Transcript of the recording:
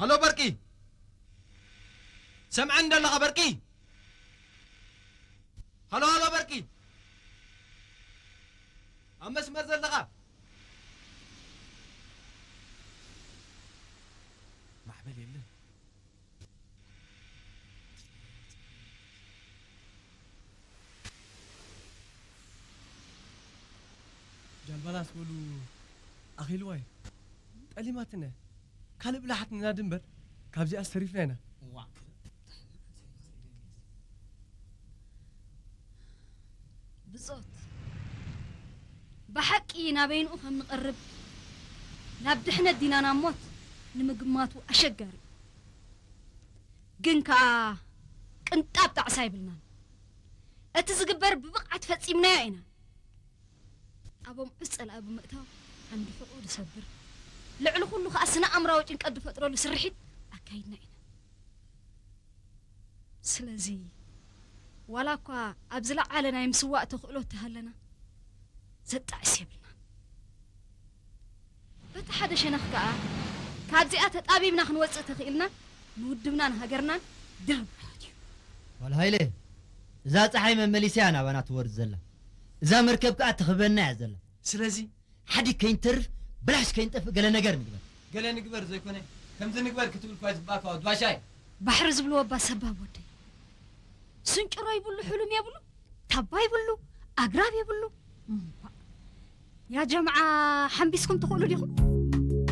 ሃሎ በርቂ፣ ሰምዐኒ ዶ ኣለኻ በርቂ? ሃሎ፣ ሃሎ በርቂ፣ ኣብ መስመር ዘለኻ? ማዕበል የለን። ጃልባናስ በሉ ኣኺልዋ እዩ። ጠሊማትና እያ። ካልእ ብልሓት ንናዲ እምበር ካብዚኣስ ተሪፍና ኢና። እዋ። ብጾት፣ ብሓቂ ናበይንኡ ከም ንቐርብ፣ ናብ ድሕነት ዲና ናብ ሞት ንምግማቱ ኣሸጋሪ እዩ። ግን ከኣ ቅንጣብ ጣዕሳ ኣይብልናን። እቲ ዝግበር ብብቕዓት ፈጺምናዮ ኢና። ኣብ ኣምዑት ጸላኢ ብምእታው ዓንዲ ሕቖኡ ዝሰብር፣ ልዕሊ ኩሉ ከኣ ስነ ኣእምራዊ ጭንቀት ዝፈጥረሉ ስርሒት ኣካይድና ኢና። ስለዚ ዋላ እኳ ኣብ ዝለዓለ ናይ ምስዋእ ተኽእሎ እተሃለና ዘጣዕስ የብልናን። በቲ ሓደ ሸነኽ ከኣ ካብዚኣ ተጣቢብና ክንወጽእ ተኽኢልና ንውድብናን ሃገርናን ድርብ ዓወት እዩ። ዋል ሃይለ፣ እዛ ፀሓይ መመሊስያ ናባና ትወርድ ዘላ፣ እዛ መርከብ ከዓ ትኽበና እያ ዘላ። ስለዚ ሓዲ ከይንተርፍ ብላሽ ከይንጠፍእ ገለ ነገር ንግበር። ገለ ንግበር ዘይኮነ ከምዚ ንግበር ክትብል እኳ ዝባእካ ወድባሻይ። ባሕሪ ዝብልዎ እባ ሰባብ ወደይ ስንጭሮ ይብሉ፣ ሕሉም የብሉ፣ ታባ ይብሉ፣ ኣግራብ የብሉ። እምባእ። ያ ጀምዓ ሓምቢስኩም ትኽእሉ ዲኹም?